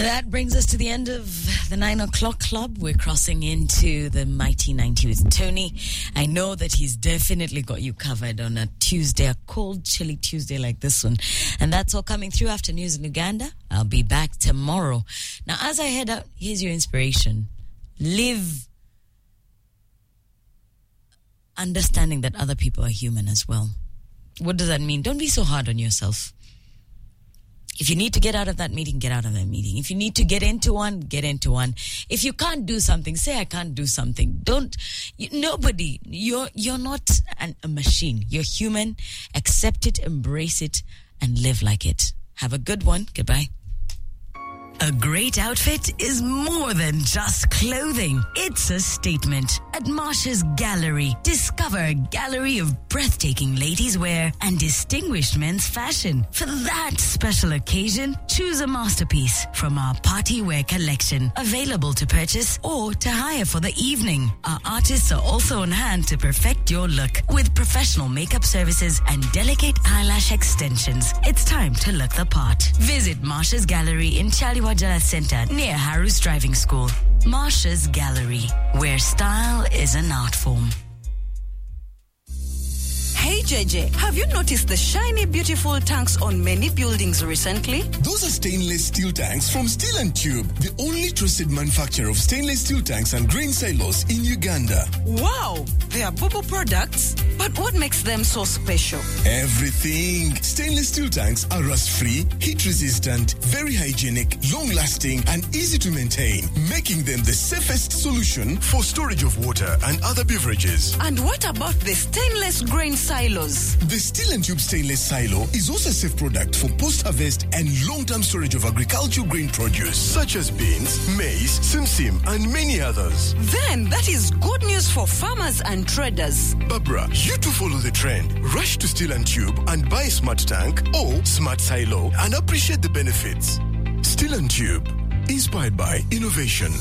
That brings us to the end of the 9 o'clock club. We're crossing into the Mighty 90 with Tony. I know that he's definitely got you covered on a Tuesday, a cold, chilly Tuesday like this one. And that's all coming through after news in Uganda. I'll be back tomorrow. Now, as I head out, here's your inspiration. Live understanding that other people are human as well. What does that mean? Don't be so hard on yourself. If you need to get out of that meeting, get out of that meeting. If you need to get into one, get into one. If you can't do something, say I can't do something. Don't, you, nobody, you're not a machine. You're human. Accept it, embrace it, and live like it. Have a good one. Goodbye. A great outfit is more than just clothing. It's a statement. At Marsha's Gallery, discover a gallery of breathtaking ladies' wear and distinguished men's fashion. For that special occasion, choose a masterpiece from our party wear collection, available to purchase or to hire for the evening. Our artists are also on hand to perfect your look with professional makeup services and delicate eyelash extensions. It's time to look the part. Visit Marsha's Gallery in Kyaliwajjala Center near Haru's Driving School. Marsha's Gallery, where style is an art form. Hey JJ, have you noticed the shiny, beautiful tanks on many buildings recently? Those are stainless steel tanks from Steel and Tube, the only trusted manufacturer of stainless steel tanks and grain silos in Uganda. Wow, they are Bubu products. But what makes them so special? Everything. Stainless steel tanks are rust-free, heat-resistant, very hygienic, long-lasting, and easy to maintain, making them the safest solution for storage of water and other beverages. And what about the stainless grain silos? The Steel and Tube stainless silo is also a safe product for post-harvest and long-term storage of agricultural grain produce such as beans, maize, simsim, and many others. Then that is good news for farmers and traders. Barbara, you too follow the trend. Rush to Steel and Tube and buy a smart tank or smart silo and appreciate the benefits. Steel and Tube, inspired by innovation.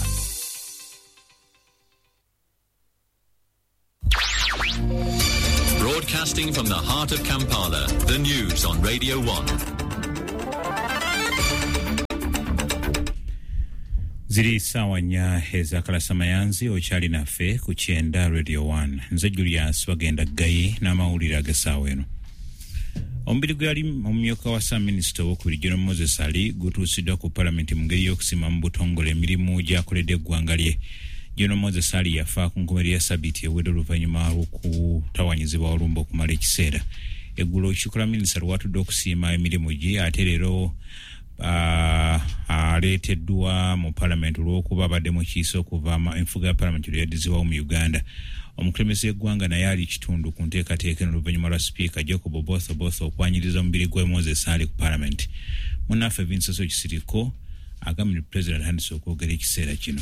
Broadcasting from the heart of Kampala, the news on Radio 1. Ziri saawa 4 ezakalasamayanzi. Okyali naffe ku 90 Radio 1. Nze Julius Bagenda Gayi n'amawulire ag'essaawa eno. Omubiri gwe yali omumyuka wa ssaaminisita owokubiri General Moses Ali gutuusiddwa ku palamenti mu ngeri y'okusiima mu butongole emirimu gy'akoledde eggwanga lye. General Moses Ali yafa ku nkomerero ya sabiiti ewedde oluvannyuma lw'okutawanyizibwa olumba okumala ekiseera. Eggulo olukiiko lwa minisita lwatudde okusiima emirimu gye, ate leero aleeteddwa mu palamenti olw'okuba abadde mu kiisa okuva enfuga ya palamenti lwe yaddizibwawo mu Uganda. Omukulembeze w'eggwanga naye ali kitundu ku nteekateeka eno oluvannyuma lwa sipiika Jacob Oboth Oboth okwanyiriza omubiri gwa Moses Ali ku palamenti. Munnaffe Vincenzo Kisiriko agambye nti pulezidenti atandise okwogera ekiseera kino.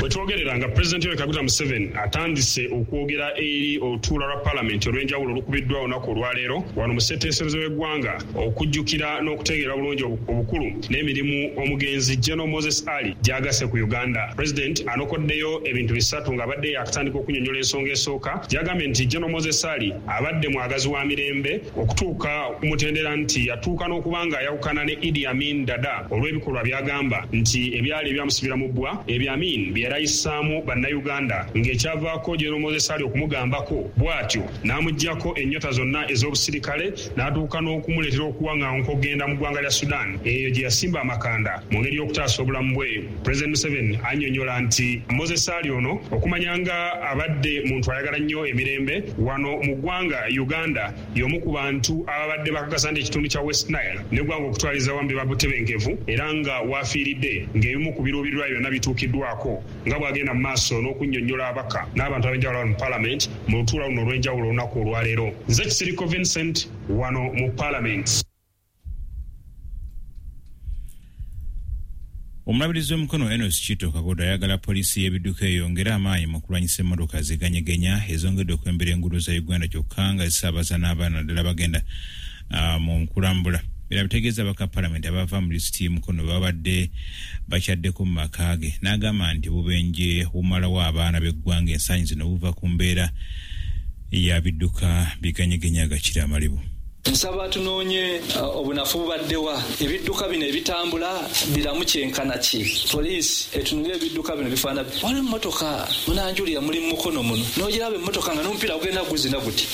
Bwe twogerera nga Pulezidenti Yoweri Kaguta Museveni atandise okwogera eri olutuula lwa palamenti olw'enjawulo olukubiddwa olunaku olwaleero wano mu ssetteeserezo w'eggwanga okujjukira n'okutegeera bulungi obukulu n'emirimu omugenzi General Moses Ali gy'agasse ku Uganda. Pulezidenti anokoddeyo ebintu bisatu ng'abadde yakatandika okunyonnyola ensonga esooka gy'agambye nti General Moses Ali abadde mwagazi wa mirembe okutuuka ku mutendera nti yatuuka n'okuba nga ayawukana ne Idi Amin Dada olw'ebikolwa by'agamba nti ebyali ebyamusibira mu bbwa ebyo Amin bye yayisaamu Bannayuganda, ng'ekyavaako General Moses Ali okumugambako bw'atyo n'amuggyako ennyota zonna ez'obusirikale n'atuuka n'okumuleetera okuwaŋŋanguka okugenda mu ggwanga lya Sudan eyo gye yasimba amakanda mu ngeri y'okutaasa obulamu bwe. President Museveni annyonnyola nti Moses Ali ono okumanya nga abadde muntu ayagala nnyo emirembe wano mu ggwanga Uganda, y'omu ku bantu ababadde bakakasa nti ekitundu kya West Nile n'eggwanga okutwaliza awamu biba butebenkevu, era nga waafiiridde ng'ebimu ku biruubirirwa byonna bituukiddwako, nga bw'agenda mu maaso n'okunnyonnyola ababaka n'abantu ab'enjawulo mu palamenti mu lutuula luno olw'enjawulo olunaku olwaleero. Nze Kisiriko Vincent wano mu palamenti. Omulabirizi w'omukono Enos Chito Kagodo ayagala poliisi y'ebidduka eyongere amaanyi mu kulwanyisa emmotoka ziganyegenya ezongedde okwembera enguudo za Uganda, kyokka nga zisaabaza n'abaana naddala bagenda mu kulambula. Era bitegeeza abaka palamenti abava mu disitulikiti y'Mukono babadde bakyaddeko mu maka ge, n'agamba nti obubenje bumalawo abaana b'eggwanga ensangi zino buva ku mbeera ya bidduka biganyegenya agakira amalibu. Nsaba tunoonye obunafu bubaddewa, ebidduka bino ebitambula biramu kyenkana ki? Poliisi etunule ebidduka bino bifaanana. Waliwo emmotoka munanjulira muli mu Mukono muno, n'ogiraba emmotoka nga n'omupiira gugenda guzina guti,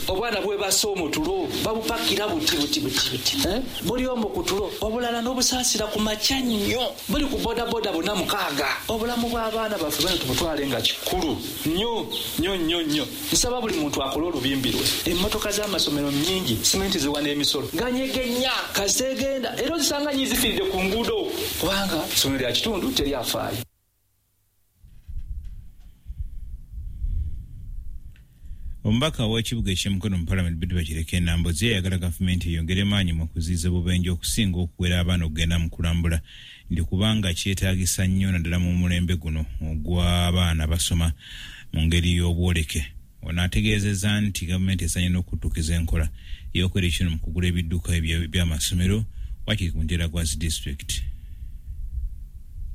obwana bwebase omwo tulo babupakira buti buti buti buti, buli omwo ku tulo, obulala n'obusaasira ku makya nnyo, buli ku bodaboda bonna 6. Obulamu bw'abaana baffe bano tubutwale nga kikulu nnyo nnyo nnyo nnyo. Nsaba buli muntu akole olubimbi lwe. Emmotoka z'amasomero nnyingi, simenti ziwa n'emisolo ganyegenya kasegenda, era ozisanga nnyo zifiiridde ku nguudo kubanga essomero lya kitundu teryafaayo. Omubaka w'ekibuga eky'Emukono mu Palamenti Betty Bakireke Nambooze ayagala gavumenti eyongere maanyi mu kuziyiza obubenje okusinga okuwera abaana okugenda mu kulambula, nti kubanga kyetaagisa nnyo naddala mu mulembe guno ogw'abaana basoma mu ngeri y'obwoleke. Ono ategeezezza nti gavumenti esaanye n'okuttukiza enkola ey'okwera ekino mu kugula ebidduka by'amasomero wakiri ku mutendera gwa zi disitulikiti.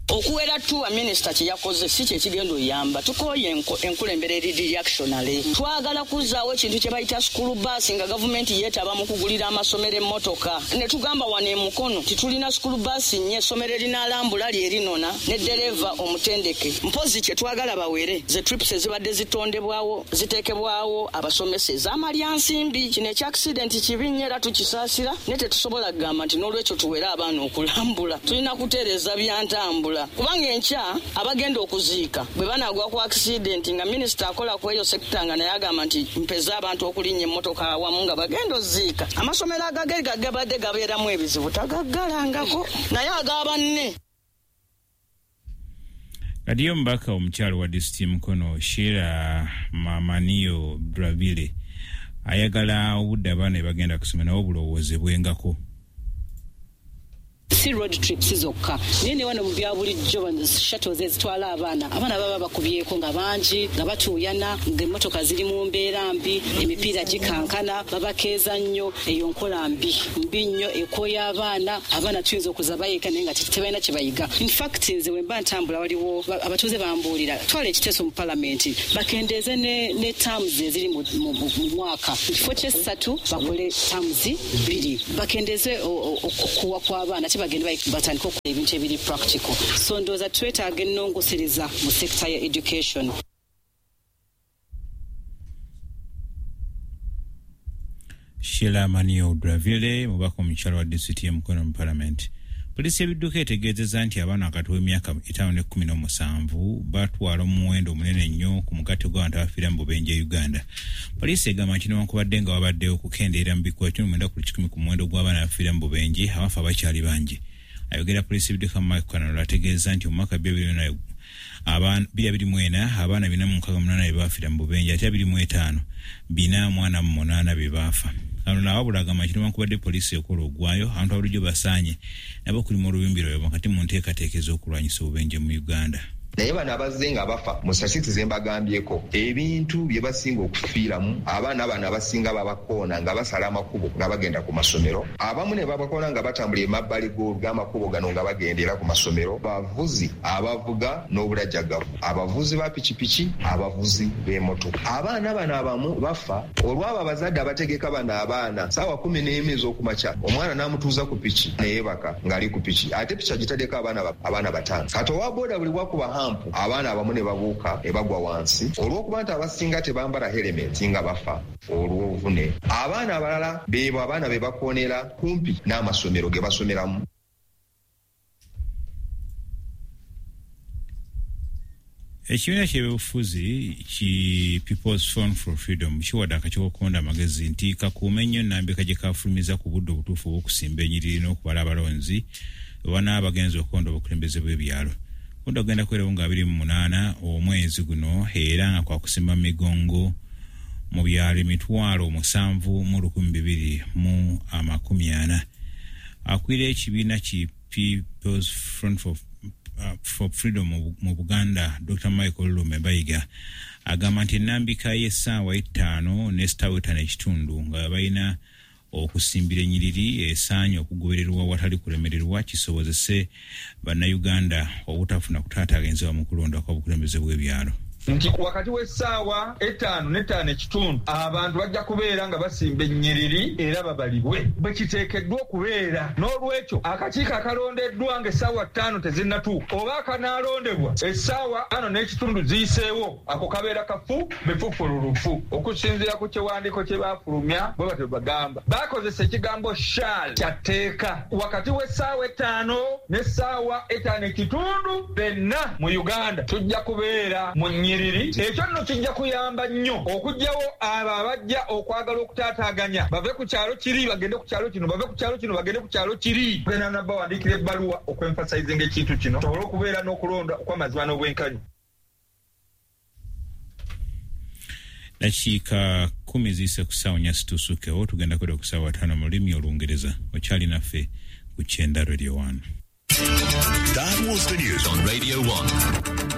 Okuwera tuwa minisita kye yakoze si kye kigenda oyamba. Tukooye enkulembera eri reactionary. Twagala kuzzaawo ekintu kye bayita school bus nga gavumenti yeetaba mu kugulira amasomero emmotoka. Ne tugamba wano e Mukono nti tulina school bus nnya, essomero erinaalambula lye erinona ne ddereeva omutendeke. Mpozzi kye twagala bawere ze trips ezibadde zitondebwawo ziteekebwawo abasomesa ez'amalyansimbi. Kino ekya accident kibi nnyo era tukisaasira, naye tetusobola kugamba nti n'olwekyo tuwere abaana okulambula. Tulina kutereeza bya ntambula, kubanga enkya abagenda okuziika bwe banaagwa ku accident nga minisita akola ku eyo sekita nga naye agamba nti mpeze abantu okulinnya emmotoka awamu nga bagenda oziika. Amasomero agage gabadde gabeeramu ebizibu tagaggalangako, naye ag'abanne. Kati ye omubaka omukyalo wa disitulikiti Mukono Sheila Mamaniyo Bravile ayagala obudde abaana bwe bagenda kusoma nabo bulowoozebwengako. Si road trips zokka, naye ne wano mu bya bulijjo shuttles ezitwala abaana, abaana baba bakubyeko nga bangi, nga batuuyana, ng'emmotoka ziri mu mbeera mbi, emipiira gikankana, babakeeza nnyo. Eyo nkola mbi mbi nnyo, ekooya abaana. Abaana tuyinza okuza bayiga naye nga tebalina kye bayiga. In fact nze bwe mba ntambula waliwo abatuuze bambuulira twala ekiteeso mu palamenti bakendeeze ne terms eziri mu mwaka, mu kifo ky'essatu bakole terms 2, bakendeeze okuwa kw'abaana bagenda batandika okukola ebintu ebiri practical. So ndowooza twetaaga ennongosereza mu sector ya education. Sheila Manio Dravile mubaka omukyalo wa disitulikiti y'e Mukono mu Palamenti. Poliisi y'ebidduka etegeezezza nti abaana wakati w'emyaka 5 ne 17 batwala omuwendo omunene nnyo ku mugatte gw'abantu abafiira mu bubenje e Uganda. Poliisi egamba nti newankubadde nga wabaddewo okukendeera mu bikumi 90% ku muwendo gw'abaana abafiira mu bubenje, abafa bakyali bangi. Ayogera poliisi y'ebidduka Mike Kanalo ategeeza nti omwaka 2024 abaana 468 be baafiira mu bubenje, ate 25 408 be baafa. Kano awabula agamba nti newankubadde poliisi ekola ogwayo, abantu abulijjo basaanye nabo okulima olubimbi lwabwe wakati mu nteekateeka ez'okulwanyisa obubenje mu Uganda. Naye bano abazze nga bafa mu statistics ze mbagambyeko, ebintu bye basinga okufiiramu, abaana bano abasinga babakoona nga basala amakubo nga bagenda ku masomero, abamu ne babakoona nga batambula emabbali g'amakubo gano nga bagenda era ku masomero, bavuzi abavuga n'obulajagavu, abavuzi ba pikipiki, abavuzi b'emmotoka. Abaana bano abamu bafa olw'abo abazadde abategeka bano abaana ssaawa 11 ez'okumakya, omwana n'amutuuza ku piki neyeebaka ng'ali ku piki, ate piki agitaddeko abaana 5. Kati owa booda buli bwakuba hampu abaana abamu ne babuuka ne bagwa wansi olw'okuba nti abasinga tebambala helmet nga bafa olw'obuvune. Abaana abalala beebo abaana be bakoonera kumpi n'amasomero ge basomeramu. Ekibiina ky'ebyobufuzi ki People's Front for Freedom kiwadde akakiiko k'okulonda amagezi nti kakuume nnyo ennambika gye kafulumiza ku budde obutuufu obw'okusimba ennyiriri n'okubala abalonzi bwe banaaba bagenze okulonda obukulembeze bw'ebyalo. Okulonda kugenda kubeerawo nga 28 omwezi guno era nga kwa kusimba migongo mu byalo 7,240. Akwira ekibiina ki People's Front for Freedom mu Buganda, Dr. Michael Lume Bayiga agamba nti ennambika y'essaawa 5 n'essaawa 5:15 nga balina okusimbira ennyiriri esaanye okugobererwa watali kulemererwa kisobozese bannayuganda obutafuna kutaataaganyizibwa mu kulonda kw'obukulembeze bw'ebyalo. Nti wakati w'essaawa 5 ne 5:15 abantu bajja kubeera nga basimba ennyiriri era babalibwe bwe kiteekeddwa okubeera. N'olwekyo akakiiko akalondeddwa ng'essaawa 5 tezinnatuuka oba akanaalondebwa essaawa 5:15 ziyiseewo, ako kabeera kafu bifufululufu okusinziira ku kiwandiiko kye baafulumya. Bwe batyo bagamba bakozesa ekigambo shall kyatteeka wakati w'essaawa 5 n'essaawa 5:15 benna mu Uganda tujja kubeera mu nnyiriri. Ekyo nno kijja kuyamba nnyo okuggyawo abo abajja okwagala okutaataaganya, bave ku kyalo kiri bagende ku kyalo kino, bave ku kyalo kino bagende ku kyalo kiri. Genda nabawandiikira ebbaluwa okwemphasizinga ekintu kino tusobole okubeera n'okulonda okw'amazima n'obwenkanya. Dakiika 10 ziyise ku ssaawa 4 situsukewo, tugenda kweda ku ssaawa 5 mu lulimi Olungereza. Okyali naffe ku Kyenda Radio 1. That was the news on Radio 1.